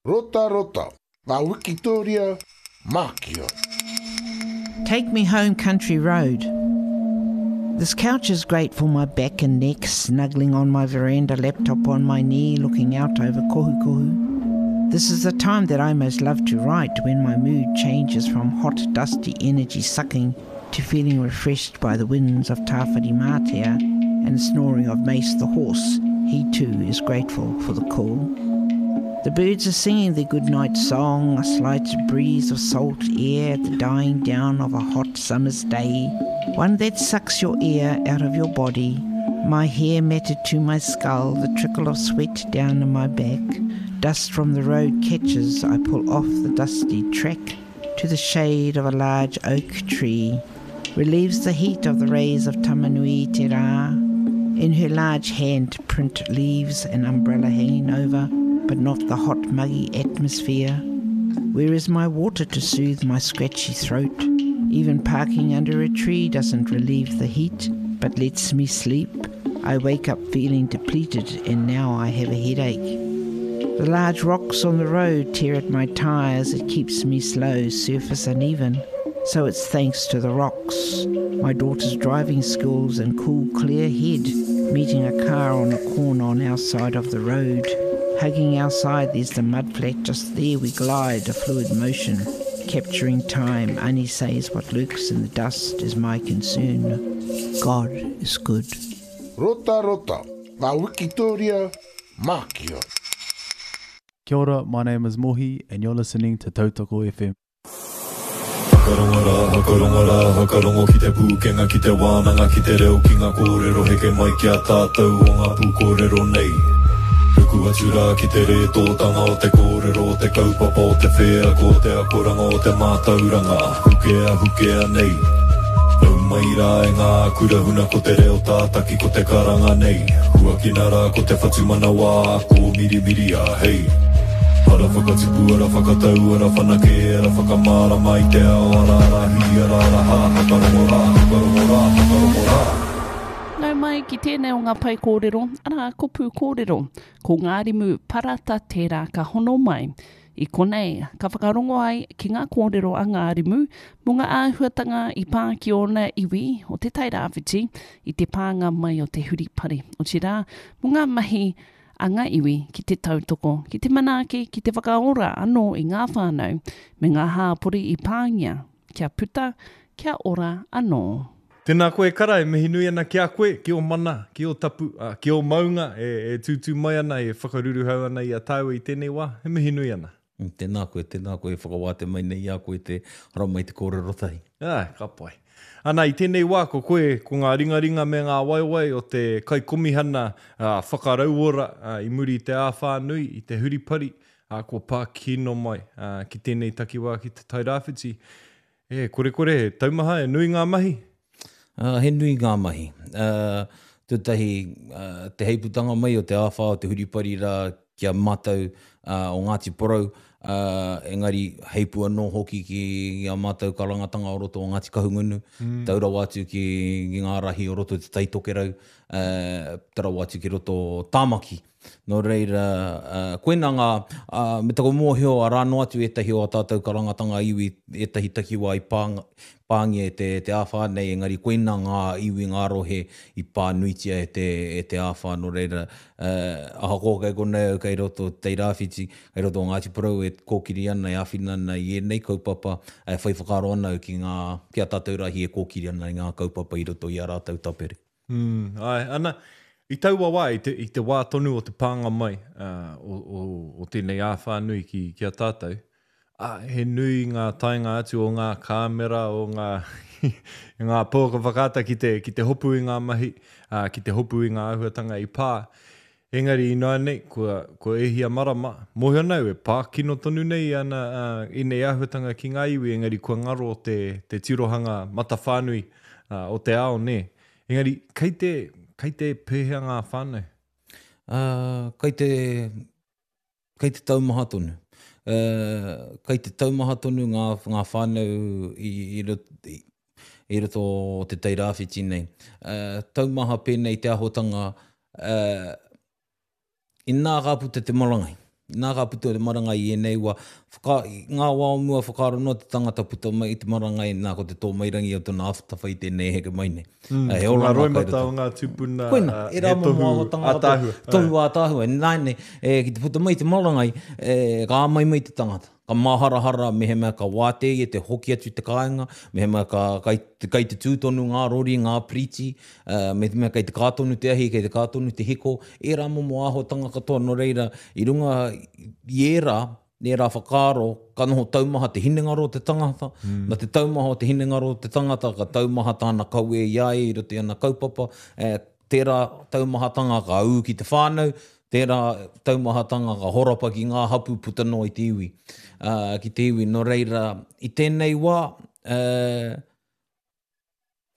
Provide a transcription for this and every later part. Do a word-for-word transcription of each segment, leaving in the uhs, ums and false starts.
Rota rota, ngā wikitoria, Mākia. Take me home, country road. This couch is great for my back and neck, snuggling on my veranda, laptop on my knee, looking out over Kohukohu. This is the time that I most love to write, when my mood changes from hot, dusty energy sucking to feeling refreshed by the winds of Tāwhirimātea and the snoring of Mace the horse. He too is grateful for the cool. The birds are singing their goodnight song, a slight breeze of salt air at the dying down of a hot summer's day, one that sucks your air out of your body, my hair matted to my skull, the trickle of sweat down my back. Dust from the road catches, I pull off the dusty track to the shade of a large oak tree, relieves the heat of the rays of Tamanui Te Rā. In her large hand print leaves and umbrella hanging over, but not the hot muggy atmosphere. Where is my water to soothe my scratchy throat? Even parking under a tree doesn't relieve the heat, but lets me sleep. I wake up feeling depleted, and now I have a headache. The large rocks on the road tear at my tyres. It keeps me slow, surface uneven. So it's thanks to the rocks, my daughter's driving skills and cool, clear head, meeting a car on a corner on our side of the road. Hugging our side, there's the mud flat just there. We glide, a fluid motion, capturing time. Ani says what lurks in the dust is my concern. God is good. Rota rota, ngā wikitoria, Mākia. Kia ora, my name is Mohi and you're listening to Tautoko F M. Whakarongo rā, whakarongo rā, whakarongo ki te pūkenga, ki te wānanga, ki te reo, ki ngā kōrero, heke mai ki a tātou o ngā pūkōrero nei. Ruku atu rā ki te rētōtanga o te kōrero, o te kaupapa, o te wheako, o te akoranga, o te mātauranga, hukea, hukea nei. Nau mai rā e ngā kura huna ko te reo tātaki, ko te karanga nei. Huakina rā ko te whatumanawa, ko mirimiri a hei. Ara whakatipu, ara whakatau, ara whanake, ara whakamārama i te ao, ara ara hi, ara ara ha, whakarongo rā, whakarongo rā, whakarongo rā. Nau mai ki tēnei o ngā pai kōrero, arā ko pū kōrero, ko Ngārimu Parata tērā ka hono mai. I konei, ka whakarongo ai ki ngā kōrero a Ngārimu mō ngā āhuatanga i pā ki ōna iwi o te Tairāwhiti i te pānga mai o te huripari. Otirā, mō ngā mahi a ngā iwi ki te tautoko, ki te manaaki, ki te whakaora anō i ngā whānau me ngā hāpori i pāngia, kia puta, kia ora anō. Tēnā koe kara, e mihi nui ana ki a koe, ki o mana, ki o tapu, uh, ki o maunga, e, e tūtū mai ana, e whakaruruhau ana i a tāua i tēnei wā, e mihi nui ana. Tēnā koe, tēnā koe, whakawāte mai nei i a koe te hara mai te kōrero tahi. Ah, ka pai. Ana, i tēnei wā, ko koe, ko ngā ringaringa me ngā waiwai o te kaikomihana uh, whakarauora uh, i muri i te āwhā nui, i te huripari, uh, kua pā kino mai uh, ki tēnei takiwā ki te Tairāwhiti. E, kore kore, he taumaha, e nui ngā mahi? Uh, he nui ngā mahi. Uh, tētahi, uh, te heiputanga mai o te āwhā o te huripari rā ki a mātou uh, o Ngāti Porou, uh, engari heipu anō hoki ki a mātou karangatanga o roto o Ngāti Kahungunu, mm. tau rawa atu ki, ki ngā rahi o roto te Taitokerau, uh, tau rawa atu ki roto Tāmaki. Nō reira, uh, koina ngā, uh, me taku mōhio a rāno atu ētahi o a tātou karangatanga iwi, ētahi takiwā i pānga, pāngia e te, te āwhā nei, engari koina ngā iwi ngā rohe i pānuitia e te, e te āwhā. Nō reira, uh, ahakoa kei konei au kei roto Tairāwhiti, kei roto o Ngāti Porou e kōkiri ana, e āwhina ana i ēnei kaupapa, e whai whakaaro ana au ki ngā, ki a tātou rahi e kōkiri ana i ngā kaupapa i roto i a rātou tapere. Mm, ai, ana, i taua wā, i te, i te wā tonu o te pānga mai uh, o, o, o tēnei āwhā nui ki, ki a tātou, ah, he nui ngā taenga atu o ngā kāmera, o ngā, ngā pouaka whakaata ki te, ki te hopu i ngā mahi, uh, ki te hopu i ngā āhuatanga i pā. Engari i nei, kua, kua ehia marama, mōhio nau e pā kino tonu nei ana uh, ēnei āhuatanga ki ngā iwi, engari kua ngaro te, te tirohanga matawhānui uh, o te ao, nē. Engari, kei te, kei te pēhea ngā whānau? Uh, kei te, kei te taumaha tonu. Uh, kei te taumaha tonu ngā, ngā whānau i, i, i, i roto o te Tairāwhiti nei. Uh, taumaha pēnei te ahotanga, uh, inā ka puta te marangai. Nā ka puta te marangai i ēnei wā, whaka, ngā wā o mua whakaaro noa te tangata puta mai i te marangai, nā ko te tōmairangi o tōna awhatawhai tēnei heke mai nei. Mm, He ko ngā oranga kai roimata roto. o ngā tūpuna, Koina, uh, e rā he momo tohu āhuatanga katoa. ātaahua. Tohu ātaahua. Nā nei, e, ki te puta mai te marangai, e, ka āmai mai te tangata. Ka māharahara mehemea ka wātea ia te hoki atu te kāinga, mehemea ka, kai, kai te tū tonu ngā rori, ngā priti, uh, mehemea kai te kā tonu te ahi, kai te kā tonu te hiko, ērā momo āhuatanga katoa nō reira, i runga i ērā, ērā whakaaro, ka noho taumaha te hinengaro o te tangata, mm. na te taumaha o te hinengaro o te tangata, ka taumaha tāna kawe i a ia i roto i ana kaupapa, eh, tērā taumahatanga ka ū ki te whānau, tērā taumahatanga ka horapa ki ngā hapu puta noa i te iwi. Uh, ki te iwi, nō reira, i tēnei wā, uh,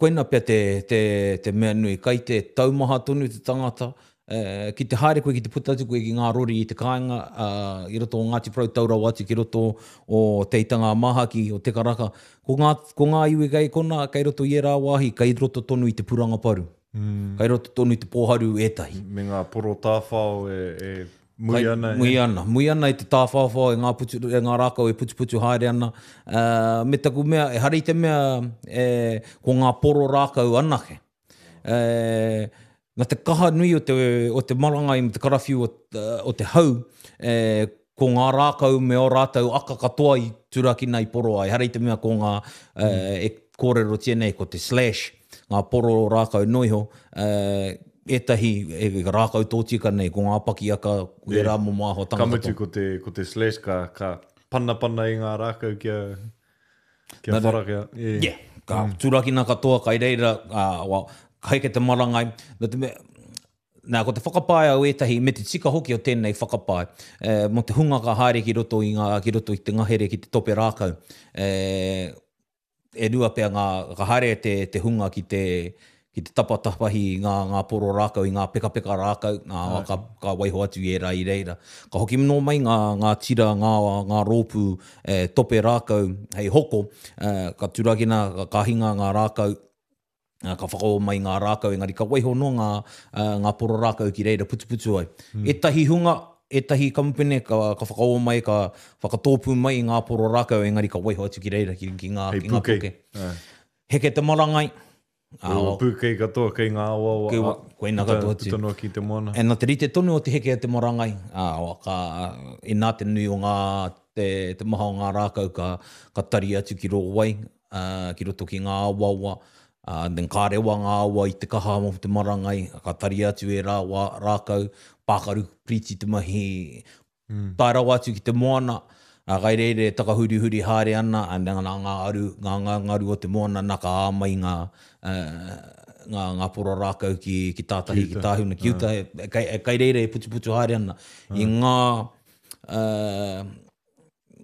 koina pea te, te, te mea nui, kai te taumaha tonu te tangata, uh, ki te haere koe, ki te puta atu koe ki ngā rori i te kāinga, uh, i roto o Ngāti Porou tau rawa atu ki roto o Te Aitanga a Māhaki, o Te Karaka. Ko ngā, ko ngā iwi kei kona, kei roto i ērā wāhi, kei roto tonu i te puranga paru. Mm. Kei roto tonu i te pōharu ētahi. Me ngā poro tāwhao e, e mui Kai, ana. Mui ana, mui ana i te tāwhāwhao e ngā, putu, e ngā rākau e putuputu haere ana. Uh, me taku mea, e hari te mea e, ko ngā poro rākau anake. E, na te kaha nui o te, o te marangai me te karawhiu o, o te hau, e, ko ngā rākau me o rātou aka katoa i turakina i poro ai. Hari te mea ko ngā, mm. e, e kōrerotia nei, ko te slash, ngā poro rākau noiho, e, ētahi e, rākau tōtika nei, ko ngā pakiaka, ko ērā momo āhuatanga Ka mutu katoa. ko te, ko te slash ka, ka panapana i ngā rākau kia, kia Nā, whara kia. Yeah. Yeah, ka mm. turakina katoa, kai reira, uh, well, ka heke te marangai. Nā te mea, nā, ko te whakapae au ētahi, me te tika hoki o tēnei whakapae, e, mō te hunga ka haere ki roto i, ngā, ki roto i te ngahere ki te tope rākau. E, e rua pea ngā, ka haere te, te hunga ki te, ki te tapatapahi i ngā, ngā poro rākau, i ngā pekapeka rākau, ngā, ka, ka waiho atu i ērā i reira. Ka hoki nō mai ngā, ngā tira, ngā, ngā rōpū e, tope rākau hei hoko, e, ka turakina, ka, ka hinga ngā rākau, ka whakaō mai ngā rākau, engari ka waiho no ngā, ngā poro rākau ki reira putuputu ai. Mm. Ētahi hunga, ētahi kamupene ka, ka whakaō mai, ka whakatōpū mai i ngā poro rākau, engari ka waiho atu ki reira ki, ki ngā, Hei ki ngā puke. puke. Heke te marangai. Ko pūkei katoa kei ngā awawa. Kei wa- koina puta, katoa atu. Puta noa ki te moana. E nā te rite tonu o te heke o te marangai, ā, ka, inā te nui o ngā, te, te maha o ngā rākau ka, ka tari atu ki rō wai, uh, ki roto ki ngā awawa, uh, then ka rewa ngā awa i te kaha o te marangai, ka tari atu e rā, wā, rākau, pākaru priti te mahi, mm. tae rawa atu ki te moana, a kai reire takahurihuri haere ana, a nā ngā aru, ngā, ngā ngaru o te moana, nā ka āmai ngā, uh, ngā, ngā poro rākau ki, ki tātahi, ki tāhuna, ki uta, e, kai, e, kai reire e putuputu haere ana. I ngā, uh,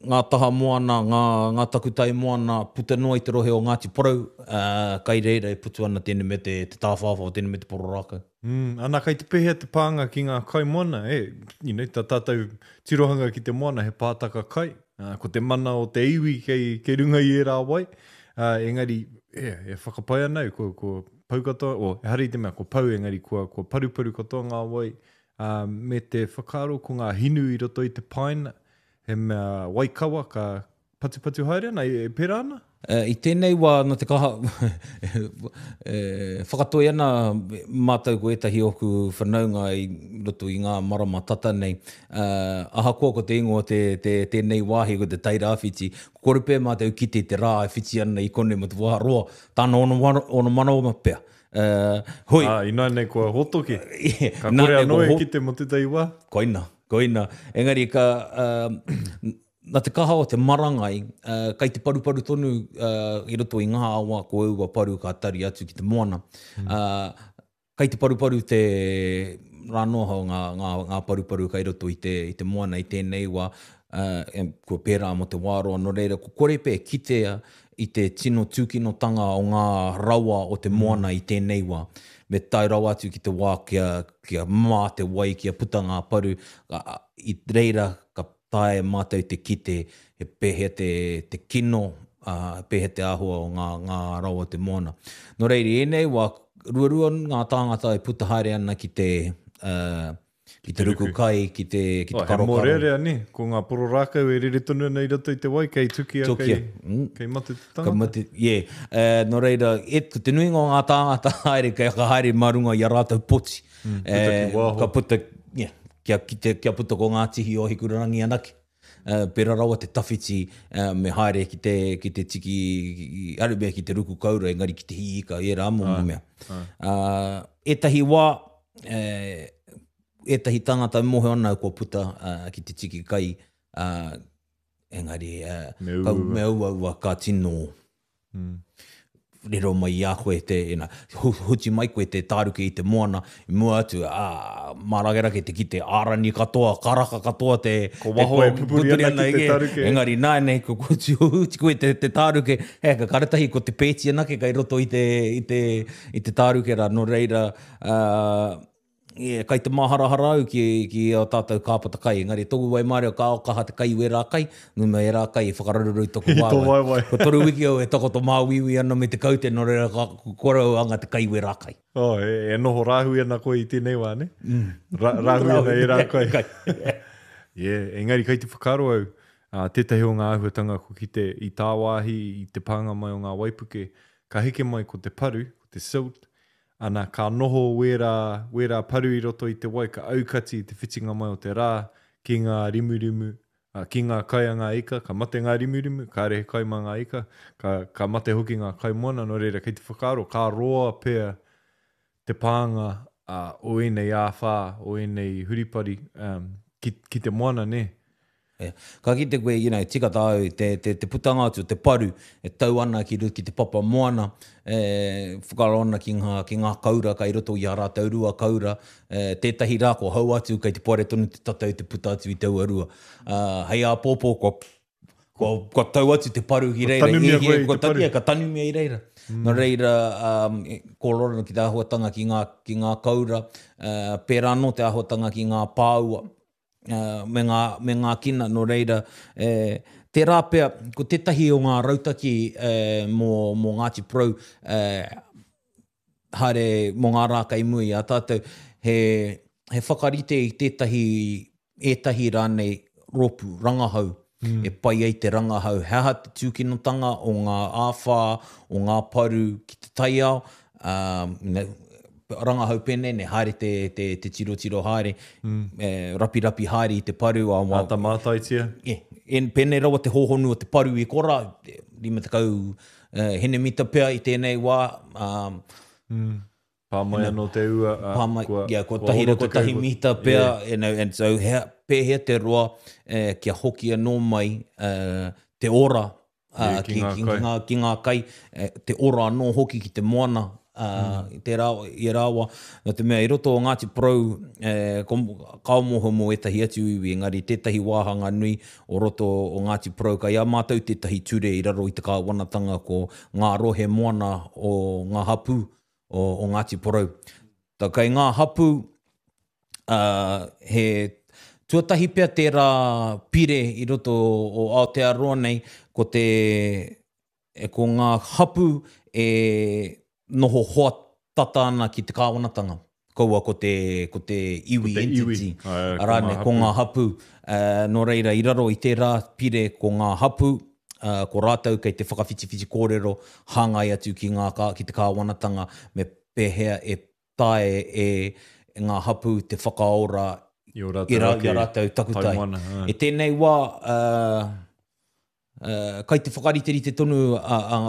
ngā taha moana, ngā, ngā takutai moana, puta noa i te rohe o Ngāti Porou, uh, kai reira e putu ana tēnei me te, te tāwhāwhā, tēnei me te poro rākau. Mm, ana kai te pēhea te pānga ki ngā kai moana, e, you know, tā tātou tirohanga ki te moana he pātaka kai, uh, ko te mana o te iwi kei, kei runga i ērā wai, uh, engari, e, e whakapae ana au, ko, ko pau katoa, o, ehara i te mea, ko pau, engari kua, kua paruparu katoa ngā wai, uh, me te whakaaro ko ngā hinu i roto i te paina, he mea waikawa ka patupatu haere ana, e, e pērā ana? Uh, I tēnei wā, nā te kaha, e, whakatoi ana mātou ko ētahi oku whanaunga i roto i ngā marama tata nei. Uh, ahakoa ko te ingoa te, te, tēnei wāhi ko te Tairāwhiti, kore pē mātou kite te rā e whiti ana i konei mo te wā roa, tāna ono, ono manawa pea. Uh, hoi. Ah, inā nei kua hotoke. Ka kore anō e kite mo tētahi wā. Koina, koina. Engari ka, uh, nā te kaha o te marangai, uh, kai te paruparu tonu uh, i roto i ngā awa ko aua paru ka tari atu ki te moana. Mm. Uh, kai te paruparu te rānoha o ngā, ngā, ngā paruparu kai roto i te, i te moana i tēnei wā, uh, kua pērā mō te wāroa, nō reira, ko kore pē kitea i te tino tūkinotanga o ngā rawa o te moana mm. i tēnei wā. Me tae rawa atu ki te wā kia, kia mā te wai, kia puta ngā paru, uh, i reira ka tae mātou te kite he pēhea te, te kino, uh, pēhea te āhua o ngā, ngā rawa o te moana. Nō reira, ēnei wā, ruarua ngā tāngata e puta haere ana ki te, uh, ki te ruku kai, ki te, ki te Oh, he karokaro. mōrearea, ne? Ko ngā poro rākau e rere tonu ana i roto i te wai, kei tukia, Tukia. kei, Mm. kei mate te Ka tangata. mate, yeah. Uh, nō reira, e, ko te nuinga o ngā tāngata haere, kei ka haere mā runga i a rātou poti. Mm, puta ki waho. Ka puta, yeah, kia, kite, kia puta ko ngā tihi o Hikurangi anake. Uh, pera rawa te tawhiti, uh, me haere ki te, ki te tiki, arumea ki te ruku kaura, engari ki te hiika, e rā momo mea. Uh, ētahi wā, eh, ētahi tangata mohe ana kua puta uh, ki te tiki kai, uh, engari uh, Me ka, uaua. me uaua ka tino Mm. rero mai i a koe te, ina, hu, huti mai koe te tāruke i te moana, i mua atu, ā, mārakerake te kite ārani katoa, karaka katoa te... Ko waho te, e pupuri ana ki te e. tāruke. Engari nānei, ko huti, huti koe te, te tāruke, he, ka karatahi ko te pēti anake kai roto i te, i te, i te tāruke rā, nō reira, uh, yeah, kai te maharahara au ki, ki o tātou kāpata kai, engari tōku waimarie ka o kaha te kai wērā kai, nō mea ērā kai e whakararuru i toku I tō waewae. waewae. Ko toru wiki au e takoto māuiui ana me te kaute, nō reira ka kore au anga te kai wērā kai. Oh, e, e noho rāhui ana koe i tēnei wā, ne? Mm. Ra, rāhui ana e rā kai. Yeah, engari kai te whakaaro au, uh, tētahi o ngā āhuatanga ko ki te i tāwāhi i te pānga mai o ngā waipuke, ka heke mai ko te paru, ko te silt, ana ka noho wērā, wērā paru i roto i te wai, ka aukati i te whitinga mai o te rā ki ngā rimurimu, uh, ki ngā kai a ngā ika, ka mate ngā rimurimu, kāre he kai mā ngā ika, ka, ka mate hoki ngā kai moana, nō reira kei te whakaaro, ka roa pea te pānga uh, o ēnei āwhā, o ēnei huripari um, ki, ki te moana, ne? Yeah. Ka kite koe, you know, tika tāu, te, te, te putanga atu, te paru, e tau ana ki, ki te papa moana, e, whakaaro ana ki ngā, ki ngā kaura, kai roto i a rātou rua kaura, e, tētahi rā ko hau atu, kai te poare tonu te tatau te puta atu i taua rua. Uh, hei āpōpō, kua, kua, kua tau atu te paru ki reira. tanumia E, koe i kua te paru. tanumia, ka tanumia i reira. Mm. Nō reira, um, e, kōrero ana ki te āhuatanga ki ngā, ki ngā kaura, uh, pērā anō te āhuatanga ki ngā pāua, uh, me, ngā, me ngā kina, nō reira, eh, tērā pea, ko tētahi o ngā rautaki eh, mō, mō Ngāti Porou, eh, haere mō ngā rā kai mui a tātou, he, he whakarite i tētahi, ētahi rānei rōpū, rangahau, mm. e pai ai te rangahau. He aha te tūkinotanga o ngā āwhā, o ngā paru ki te taiao, um, you know, rangahau pēnei, ne, haere te, te, te tirotiro haere, mm. eh, rapirapi haere i te paru. A, wa, Āta mātaitia. Yeah. En, pēnei rawa te hōhonu o te paru i kora, lima tekau eh, henemita pea i tēnei wā, um, Mm. Pā mai anō te ua. Uh, pā mai, kua, yeah, kua tahi ono kua tekau, tahi mita pea, yeah. you know, and so hea, pēhea te roa eh, kia hoki anō mai eh, te ora uh, Yeah, ki ki, ngā ki, kai. ki, ngā, ki ngā kai, eh, te ora anō hoki ki te moana, uh, mm. te rā, i rāwa, nō te mea i roto o Ngāti Porou, eh, ko, kao moho mō ētahi atu iwi, engari tētahi wāhanga nui o roto o Ngāti Porou, kai a mātou tētahi ture i raro i te kāwanatanga ko ngā rohe moana o ngā hapū o, o Ngāti Porou. Tā kai ngā hapū, uh, he tuatahi pea tērā pire i roto o Aotearoa nei, ko te, e, ko ngā hapū e noho hoa tata ana ki te kāwanatanga. Kaua ko te, ko te iwi Ko te iwi. entity. Ai, ko Arā ngā ne, ko hapū. ngā hapū. Uh, nō reira, i raro i tērā pire ko ngā hapū, uh, ko rātou kei te whakawhitiwhiti kōrero hāngai atu ki, ngā, kā, ki te kāwanatanga me pēhea e tae e, e ngā hapū te whakaora I o rātou i, ra, ake i a rātou takutai. taimoana, ā. I tēnei wā, uh, uh, kai te whakariterite tonu a, a,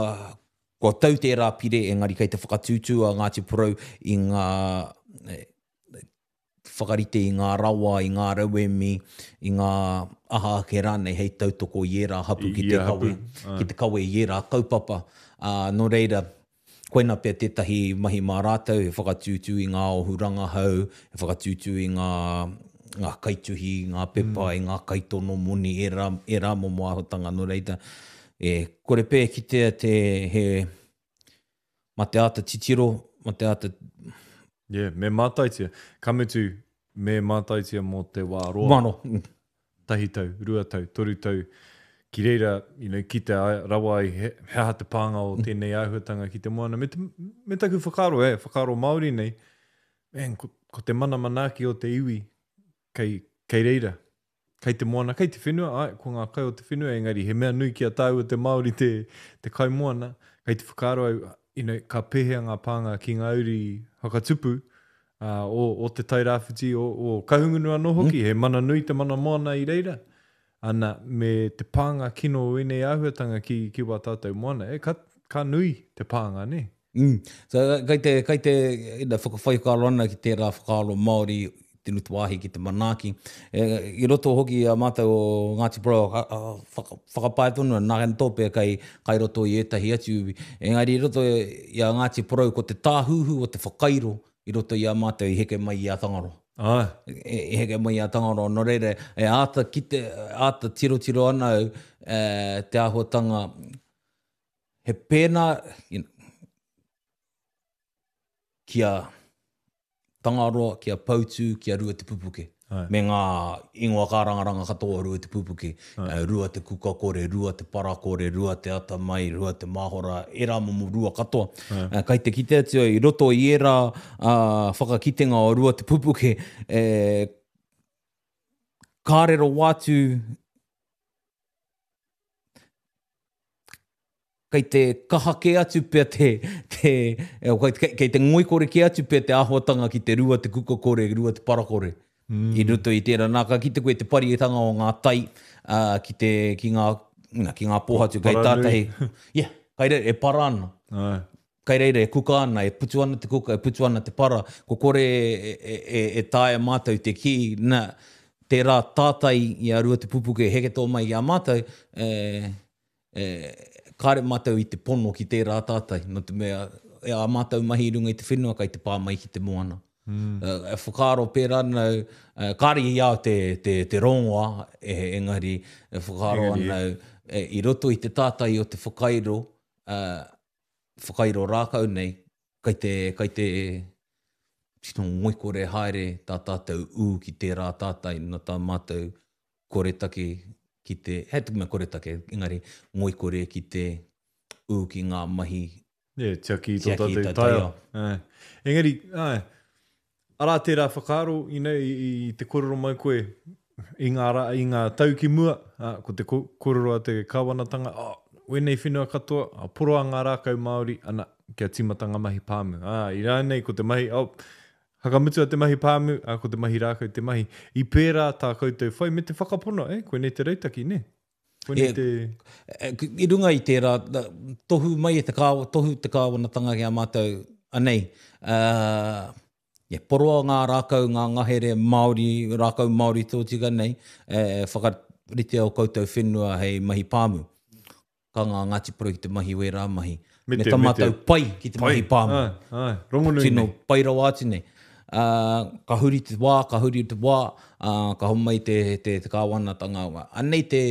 kua tau tērā pire, engari kai te whakatūtū a Ngāti Porou i ngā eh, whakarite i ngā rawa, i ngā rauemi, i ngā aha ake rānei hei tautoko i ērā hapu I ki te ia kawe, hapu, ā. ki te kawe i ērā kaupapa. Uh, nō reira, koina pea tētahi mahi mā rātou, he whakatūtū i ngā ohu rangahau, he whakatūtū i ngā, ngā kaituhi, ngā pepa, mm. i ngā kaitono moni, ērā, ērā momo āhuatanga. Nō reira, e, kore pē kitea te, he, ma te āta titiro, ma te āta Yeah, me mātaitia. Ka mutu, me mātaitia mō te wā roa. mano. Tahi tau, rua tau, toru tau. Ki reira, you know, ki te ai- rawa ai, he, he aha te pānga o tēnei āhuatanga ki te moana. Me, te, me taku whakaaro, eh, whakaaro Māori nei, man, ko, ko te mana manaaki o te iwi, kei, kei reira, kei te moana, kei te whenua, ai, ko ngā kai o te whenua, engari he mea nui ki a tāua te Māori te, te kai moana, kei te whakaaro au, you know, ka pēhea ngā pānga ki ngā uri whakatupu, uh, o, o te Tairāwhiti, o, o Kahungunu anō hoki, mm. he mana nui te mana moana i reira. Ana, me te pānga kino o ēnei āhuatanga ki, ki wā tātou moana, e, ka, ka nui te pānga, ne? Mm. So, kai te, kai te ina, whakawhai whakaaro ana ki tērā whakaaro Māori, te nutuahi ki te manaaki. E, i roto hoki a mātou o Ngāti Porou, whaka, whakapae tonu, nā hen tōpea kai, kai roto i ētahi atu. Engari i roto i a Ngāti Porou ko te tāhuhu o te whakairo i roto i a mātou i heke mai i a Tangaroa. Ah. E, i heke mai i a Tangaroa. Nō reira, e āta, kite, āta tirotiro ana au e, te āhuatanga he pēnā you know, kia Tangaroa, kia Poutū, kia Rua Te Pupuke. Ai. Me ngā ingoa kārangaranga katoa o Rua Te Pupuke. Uh, Rua Te Kukakore, Rua Te Parakore, Rua Te Atamai, Rua Te Mahora, ērā momo rua katoa. Uh, kai te kite atu i roto i ērā uh, whakakitenga o Rua Te Pupuke, eh, ka rero wātu kei te kaha kē atu pea te, te kei, kei te ngoikore kē atu pea te āhuatanga ki te Rua Te Kukakore, Rua Te Parakore. Mm. I roto i tērā. Nā, ka kite koe te parietanga o ngā tai uh, ki, te, ki, ngā, na, ki ngā pōhatu kei tātahi. Yeah, kai reira e para ana. Ai. Kai reira e kuka ana, e putu ana te kuka, e putu ana te para. Ko kore e, e, e, e taea mātou te kī, nā, tērā tātai i a Rua Te Pupuke heke tō mai i a mātou, e, e, kāre mātou i te pono ki tērā tātai, no te mea, e a mātou mahi i runga i te whenua kai te pā mai ki te moana. Mm. Uh, e whakaaro pērā nau, uh, kāre i au te, te, te rongoa, e, engari, e whakaaro Engari, anau, e, i roto i te tātai o te whakairo, uh, whakairo rākau nei, kai te, kai te tino ngoikore haere tā tātou ū ki tērā tātai, no tā mātou koretake ki te, he te mea koretake, engari ngoikore ki te ū ki ngā mahi. Yeah, tiaki i tō Tiaki i tātou tō taiao. taiao. Ai. Engari, ai, arā tērā whakaaro, you know, i, i te kōrero mai koe i ngā, rā, i ngā tau ki mua, ā, ko te kōrero a te kāwanatanga, oh, wēnei whenua katoa, a, poroa ngā rākau Māori, ana, kia tīmata ngā mahi pāmu. Ā, i rānei ko te mahi, oh, hakamutua te mahi pāmu, ā, ko te mahi rākau te mahi. I pērā tā koutou whai me te whakapono, eh, koinei te rautaki, ne? Koinei E, te... E, I runga i tērā, tohu mai e te kāwa, tohu te kāwanatanga ki a mātou, anei, uh, yeah, poroa ngā rākau, ngā ngahere Māori, rākau Māori tōtika nei, e, whakaritea o koutou whenua hei mahi pāmu. Ka ngā Ngāti Porou ki te mahi wērā mahi. Me Me te- tā me te- mātou pai ki te mahi pāmu. Ai, ai, rongonui Tino nei. pai rawa atu nei. Uh, ka huri te wā, ka huri te wā, uh, ka homai te, te, te kāwanatanga. Anei te,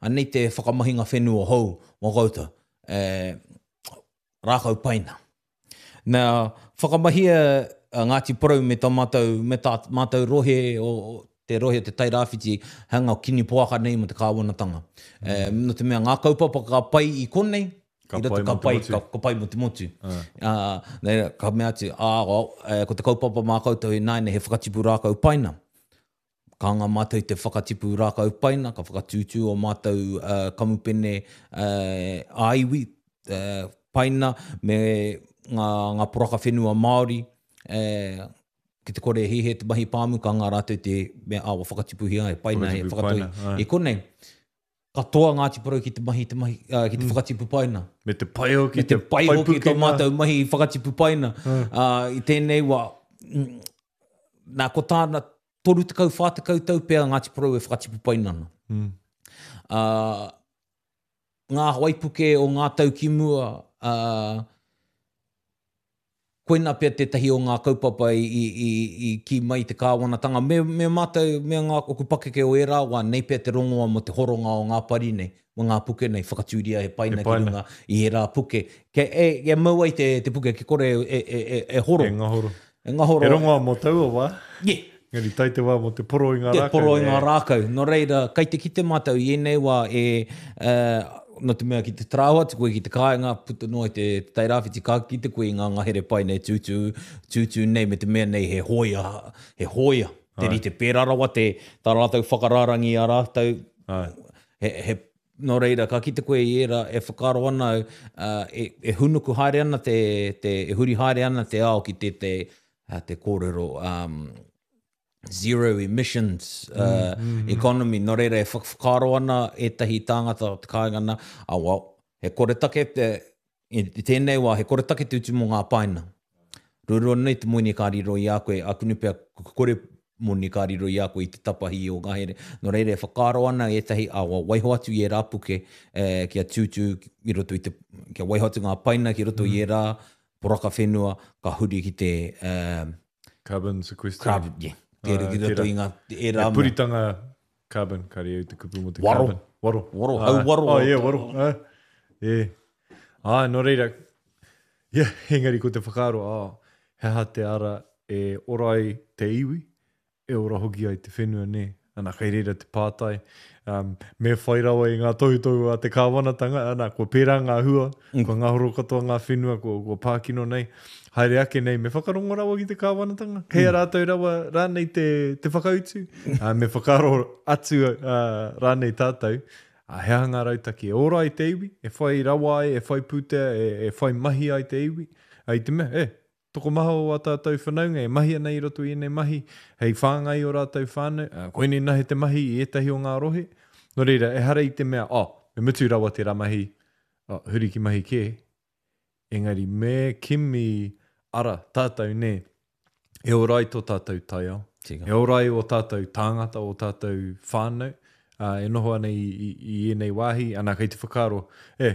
anei te whakamahinga whenua hou mō koutou. E, rākau paina. Nā, whakamahia a Ngāti Porou me tā mātou, me tā mātou rohe o, o te rohe o te Tairāwhiti, hanga kini poaka nei mo te kāwanatanga. Mm. E, no te mea ngā kaupapa ka pai i konei, Ka i roto pai ka mō te pai, motu. ka, ka pai mō te motu. Uh, nei, ka mea atu, ā, oh, eh, ko te kaupapa mā koutou i nāine he whakatipu rākau paina. Ka ngā mātou te whakatipu rākau paina, ka whakatūtū o mātou uh, kamupene uh, ā-iwi, uh, paina, me ngā, ngā poraka whenua Māori, eh, ki te kore hihe te mahi pāmu, ka ngā rātou te mea awa whakatipuhia e paina, e Whakatipu whakatoi. paina, ai. I konei, katoa Ngāti Porou ki te mahi, te mahi, uh, ki te mm. whakatipu paina. Me te pai hoki, Me te pai hoki tō pukenga. mātou mahi whakatipu paina. Uh, I tēnei wā, mm, nā ko tāna toru tekau, whā tekau tau pea Ngāti Porou e whakatipu paina ana. Mm. Uh, ngā waipuke o ngā tau ki mua, uh, koina pea tētahi o ngā kaupapa i, i, i, i ki mai te kāwanatanga. Me, me mātou, me ngā oku pakeke o ērā wā, nei pea te rongoa mo te horonga o ngā pari nei, mo ngā puke nei, whakatūria he paina, He paina. ki runga i ērā puke. Ke, e, e mau ai te, te puke, ke kore e, e, e, e horo. E ngahoro. E ngahoro. He rongoa mō taua wā. Yeah. Engari tai te wā mō te poro i ngā Te rākau. poro i ngā E. rākau. Nō reira, kai te kite mātou i ēnei wā e, uh, nō te mea ki te tarāwa atu koe ki te kāinga, puta noa i te, te Tairāwhiti, ka kite koe i ngā ngahere pai nei tūtū, tūtū nei, me te mea nei he hoia, he hoia Te rite pērā rawa te, tā rātou whakarārangi a rātou. Ai. He, he, nō reira, ka kite koe i ērā e whakaaro ana au, uh, e, e hunuku haere ana te, te, e huri haere ana te ao ki te, te, te kōrero um, zero emissions uh, mm, mm, economy. Nō reira, e whakaaro ana ētahi tāngata o te kāinga nā, ah, well, he koretake te, i tēnei wā, he koretake te utu mō ngā paina. Rurua nei te moni ka riro i a koe, a kunu pea kore moni ka riro i a koe i te tapahi o ngahere. Nō reira, e whakaaro ana ētahi, a wa, waiho atu i ērā puke, eh, kia tūtū i roto i te, kia waiho atu ngā paina ki roto mm. i ērā poraka whenua, ka huri ki te... Eh, carbon sequestering. Carbon, yeah. Tērā ki roto i ngā ērā mea. Puritanga carbon, ka reo te kupu mo te waro. Carbon. Waro. Waro, hau waro. Oh, yeah, waro. Ah, yeah. Ah, nō reira, yeah, engari ko te whakaaro, oh, he aha te ara e ora ai te iwi, e ora hoki ai te whenua, nē. Ana, kei reira te pātai, um, me whai rawa i ngā tohutohu a te kāwanatanga, ana, kua pērā ngā hua, mm. kua ngahoro katoa ngā whenua, kua, kua pākino nei, haere ake nei, me whakarongo rawa ki te kāwanatanga, kei a mm. rātou rawa rānei te, te whakautu, uh, me whakaaro atu uh, rānei tātou, uh, he aha ngā rautaki e ora ai te iwi, e whai rawa ai, e whai pūtea, e, e whai mahi ai te iwi, uh, i te mea, e, tokomaha o a tātou whanaunga e mahi ana i roto i ēnei mahi, hei whāngai o rātou whānau, uh, koinei nahe te mahi i ētahi o ngā rohe. Nō reira, ehara i te mea, oh, me mutu rawa tērā mahi, oh, huri ki mahi kē. Engari me kimi ara tātou nē, e ora ai tō tātou taiao, Tika. e ora ai o tātou tāngata, o tātou whānau, uh, e noho ana i, i, i ēnei wāhi, ana kei te whakaaro, e,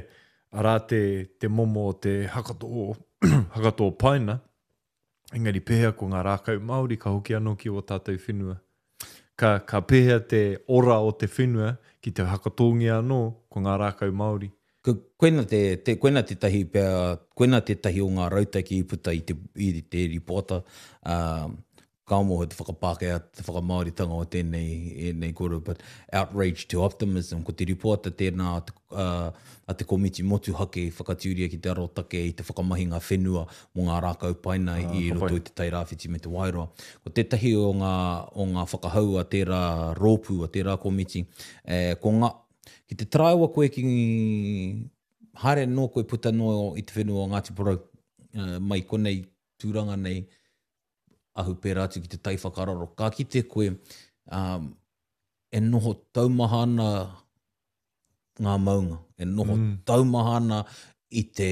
arā te, te momo o te hakatō, hakatō paina, engari pēhea ko ngā rākau Māori ka hoki anō ki o tātou whenua. Ka, ka pēhea te ora o te whenua ki te hakatōngia anō ko ngā rākau Māori. Ko, koina te, te, koina tētahi pea, koina tētahi o ngā rautaki i puta i te, i te ripoata, uh, ka moho te whakapākehā, te whakamāoritanga o tēnei, ēnei kōrero, but outrage to optimism, ko te ripoata tēnā a te, uh, a te komiti motuhake i whakatūria ki te arotake i te whakamahinga whenua mō ngā rākau paina ah, i roto i te Tairāwhiti me te Wairoa. Ko tētahi o ngā, o ngā whakahau a tērā rōpū, a tērā komiti, eh, ko ngā, ki te taraiwa koe ki haere nō koe puta noa i te whenua o Ngāti Porou, uh, mai konei tūranga nei, ahu pērā atu ki te tai whakararo. Ka kite koe, um, e noho taumaha ana ngā maunga, e noho mm. taumaha ana i te,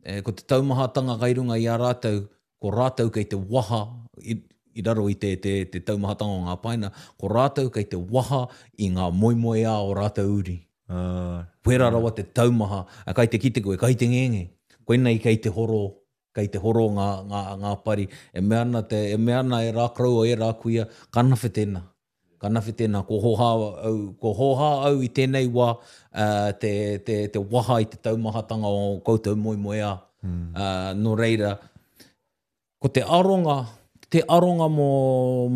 e, ko te taumahatanga kai runga i a rātou, ko rātou kei te waha, i, i raro i te, te, te taumahatanga o ngā paina, ko rātou kei te waha i ngā moemoeā o rātou uri. Uh, Pērā rawa te taumaha, a kai te kite koe, kai te ngenge. Koinei kei te horo, kei te horo ngā, ngā, ngā pari. E mea ana, te, e mea ana e rā koroua, e rā kuia, ka nawhe tēnā. Ka nawhe tēnā, ko hoha au, ko hoha au i tēnei wā, uh, te, te, te waha i te taumahatanga o koutou moemoeā. Mm. Uh, nō reira, ko te aronga, te aronga mō,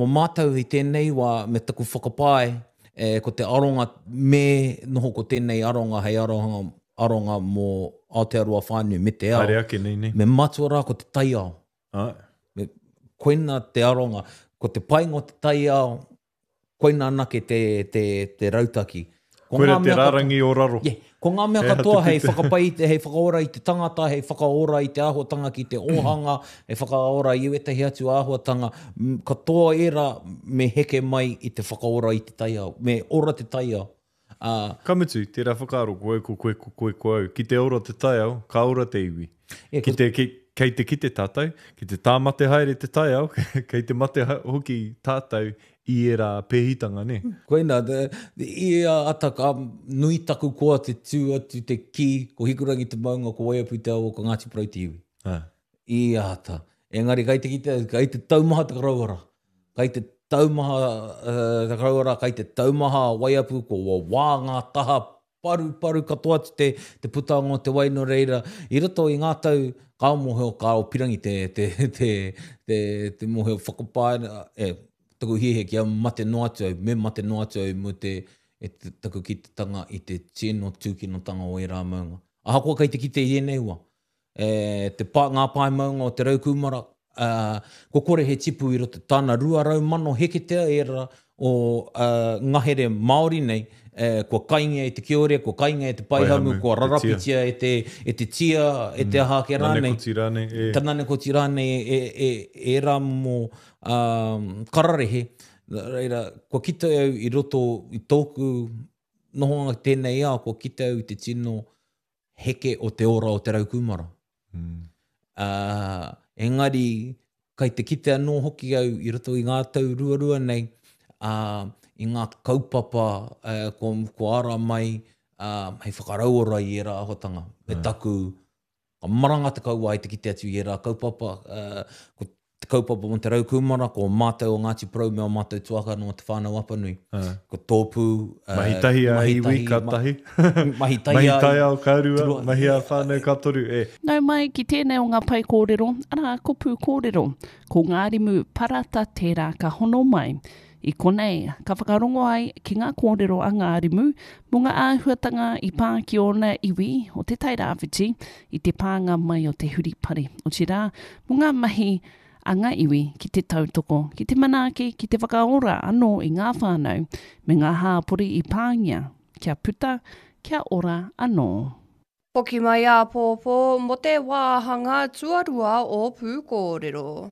mō mātou i tēnei wā me taku whakapae, e, ko te aronga me noho ko tēnei aronga hei aronga, aronga mō Aotearoa whānui me te ao. Haere ake nei, nei. Me matua rā ko te taiao. Ah. Me, koina te aronga, ko te painga o te taiao, koina anake te, te, te rautaki. Ko Koira ngā te mea katoa- rārangi o raro. Yeah. Ko ngā mea He aha te katoa hei pute? whakapai, hei whakaora i te tangata, hei whakaora i te āhuatanga ki te ōhanga, hei whakaora i ētahi atu āhuatanga, katoa ērā me heke mai i te whakaora i te taiao, me ora te taiao. Uh, Ka mutu, tērā whakaaro, ko au, ko koe, ko koe, ko au. Ki te ora te taiao, ka ora te iwi. Yeah, Ki te, ki, kei te kite tātou, ki te tāmate haere te taiao, kei te mate hoki tātou i ērā pēhitanga, ne? Koina, te, i a ata ka nui taku koa te tū atu te ki, ko Hikurangi te maunga, ko Waiapu te awa, ko Ngāti Porou te iwi. Ah. I ata. Engari, kai te kite, kai te taumaha te karauara. Kai te taumaha uh, te karauara, kai te taumaha a Waiapu, ko wā ngā taha paru paru katoa atu te, te putanga o te wai nō reira. I roto i ngā tau, ka mōhio, ka o pirangi te, te, te, te, te mōhio whakapae, e, taku hiahia kia mate noa atu au, me mate noa atu au mō te, e te taku kitetanga i te tino tūkinotanga o ērā maunga. Ahakoa kei te kite i ēnei wā, e, te pa, ngā pae maunga o te Raukūmara, Uh, kua kore he tipu i roto tāna rua rau mano heketea ērā o uh, ngahere Māori nei, eh, kua kaingia e te kiore, kua kaingia e te paihamu, Paihamu, kua te tia. rarapitia e te, e te tia, e te aha ake rānei. Nanekoti rānei, e. Ta nanekoti rānei e, e, e ērā momo um, kararehe. Reira, kua kite au i roto i tōku nohonga tēnei ao, kua kite au i te tino heke o te ora o te rau kūmara. Mm. Uh, engari, kai te kite anō hoki au i roto i ngā tau ruarua nei, uh, i ngā kaupapa uh, kua, kua ara mai uh, hei whakarauora i ērā āhuatanga. Me taku, ka maranga te kauae te kite atu i ērā kaupapa, uh, ko te kaupapa mō te rau kūmara, ko mātou o Ngāti Porou me o mātou tuakana o Te Whānau Apanui. Ah. Ko tōpū... Uh, Mahi tahi a mahi iwi tahi, ka ma- tahi. mahi tahi Mahi a taiao ka rua, Rua. mahi a whānau ka toru. E. Nau mai ki tēnei o ngā pae kōrero, arā ko Pū Kōrero, ko Ngārimu Parata tērā ka hono mai. I konei, ka whakarongo ai ki ngā kōrero a Ngārimu mō ngā āhuatanga i pā ki ōna iwi o te Tairāwhiti i te pānga mai o te huripari. Otirā, mō ngā mahi a ngā iwi ki te tautoko, ki te manaaki, ki te whakaora anō i ngā whānau me ngā hāpori i pāngia, kia puta, kia ora anō. Hoki mai āpōpō mō te wāhanga tuarua o Pūkōrero.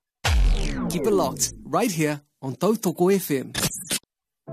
Keep it locked right here on Tautoko F M.